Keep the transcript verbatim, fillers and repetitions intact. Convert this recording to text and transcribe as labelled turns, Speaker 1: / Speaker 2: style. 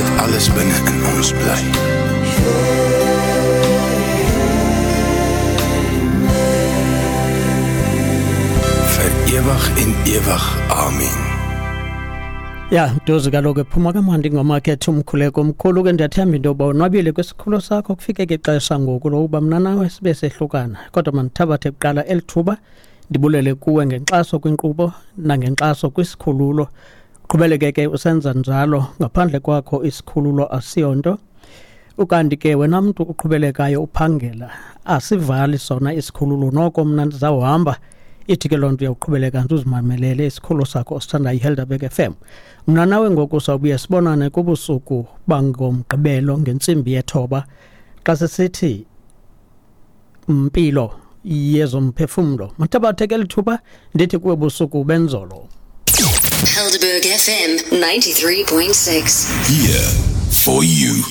Speaker 1: Laat alles binne in ons bly. Vir ewig en ewig. Amen.
Speaker 2: Ya, ntozi kaloku ephuma kamandi ingoma ke ethi umkhuleko omkhulu. Ke ndiyathemba into yoba unwabile kwisikhulo sakho. Kufike ke ixesha ngoku lokuba mna nawe sibe sehlukana, kodwa mandithabathe kuqala eli thuba ndibulele kuwe ngenkxaso kwinkqubo nangenkxaso kwisikhululo. Qhubeleke ke usenza njalo, ngaphandle kwakho isikhululo asiyonto. Ukanti ke wena mntu uqhubelekayo uphangela, asivali sona isikhululo, noko mna ndizawuhamba. Ithi ke loo nto uyawuqhubeleka nje uzimamelele isikhululo sakho osithandayo, iHelderberg F M. Mna nawe ngoku sawubuye sibonane kubusuku bangomgqibelo ngentsimbi yethoba, xa sisithi mpilo yezomphefumlo. Mathabathe ke lithuba ndithi kuwe busuku benzolo.
Speaker 3: Helderberg F M ninety-three point six.
Speaker 1: Here for you.